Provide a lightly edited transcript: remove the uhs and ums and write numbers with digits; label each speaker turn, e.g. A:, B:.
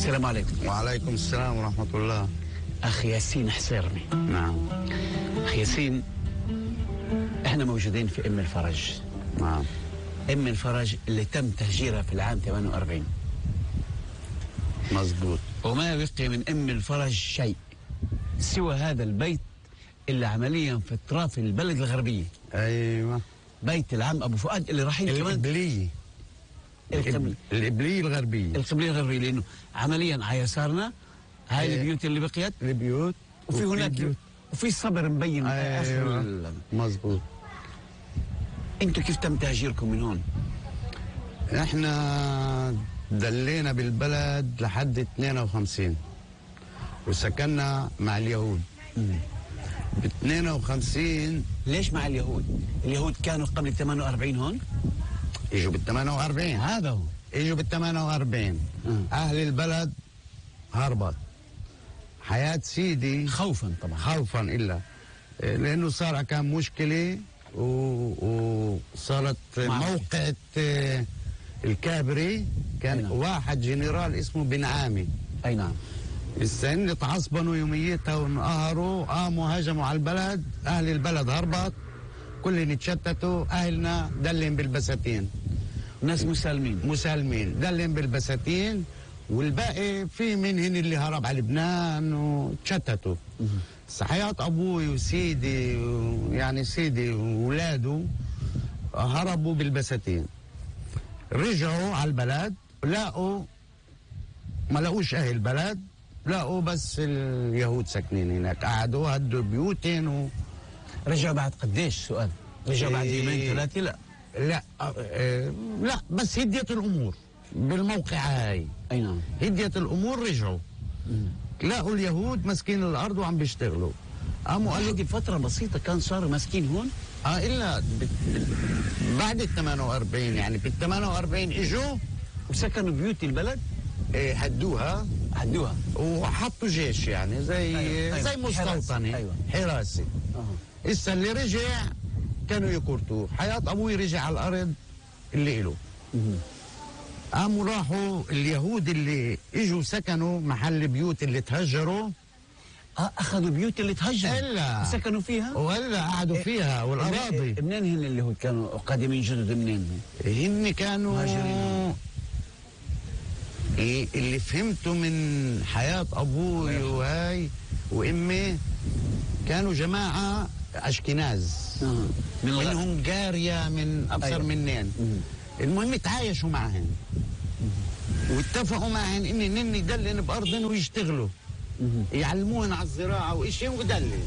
A: السلام عليكم.
B: وعليكم السلام ورحمة الله.
A: أخي ياسين حسيرني.
B: نعم.
A: أخي ياسين، احنا موجودين في أم الفرج.
B: نعم.
A: أم الفرج اللي تم تهجيرها في العام 48.
B: مزبوط.
A: وما بقي من أم الفرج شيء سوى هذا البيت اللي عمليا في اطراف البلد الغربية.
B: أيوة.
A: بيت العم أبو فؤاد اللي رايحين كمان
B: القبلية. القبلية الغربية.
A: القبلية الغربية، لأنه عمليا على يسارنا هاي البيوت اللي بقيت،
B: البيوت،
A: وفي هناك
B: بيوت.
A: وفي صبر مبين.
B: أيوة. مزبوط.
A: انتوا كيف تم تهجيركم من هون؟
B: احنا دلينا بالبلد لحد 52 وسكننا مع اليهود. ب 52.
A: ليش مع اليهود؟ اليهود كانوا قبل 48 هون؟
B: اجوا بال 48.
A: هذا هو.
B: اجوا بال 48. اهل البلد هربت. حياة سيدي
A: خوفا طبعا.
B: خوفا الا لانه صار كان مشكلة وصارت موقعة الكابري كان.
A: نعم.
B: واحد جنرال اسمه بن عامي.
A: اي نعم.
B: السن تعصبنوا يوميتها وانقهروا، قاموا هجموا على البلد. اهل البلد هربت، كلهم اتشتتوا، اهلنا دلهم بالبساتين.
A: ناس مسالمين
B: دلهم بالبساتين، والباقي في منهن اللي هرب على لبنان وتشتتوا. حياة ابوي وسيدي يعني سيدي واولاده هربوا بالبساتين. رجعوا على البلد، ما لقوش اهل البلد، لقوا بس اليهود ساكنين هناك. قعدوا هدوا بيوتين
A: رجعوا بعد قديش؟ سؤال. رجعوا بعد يومين ثلاثة؟
B: لا بس هديت الامور بالموقع هاي.
A: اي نعم.
B: هديت الامور، رجعوا لقوا اليهود ماسكين الارض وعم بيشتغلوا. قاموا قالوا
A: دي فترة بسيطة كان صاروا ماسكين هون؟
B: الا بعد ال 48 يعني بال 48 اجوا
A: وسكنوا بيوت البلد.
B: هدوها وحطوا جيش يعني زي مستوطنة.
A: أيوة.
B: حراسة. إسا اللي رجع كانوا يكورتوه. حياة أبوي رجع على الأرض اللي إله. قاموا راحوا اليهود اللي إجوا سكنوا محل بيوت اللي تهجروا.
A: أخذوا بيوت اللي تهجروا
B: إلا
A: سكنوا فيها؟
B: ولا قعدوا فيها والأراضي.
A: منين هن اليهود كانوا قادمين جدد؟ منين
B: هن كانوا
A: مهاجرين؟
B: اللي فهمته من حياة أبوي وهاي وإمي كانوا جماعة أشكناز. من هنغاريا، من أبصر. أيوة. منين. المهم تعايشوا معهن واتفقوا معهن إن يدلن بأرضن ويشتغلوا، يعلموهن على الزراعة وإشي ودلن.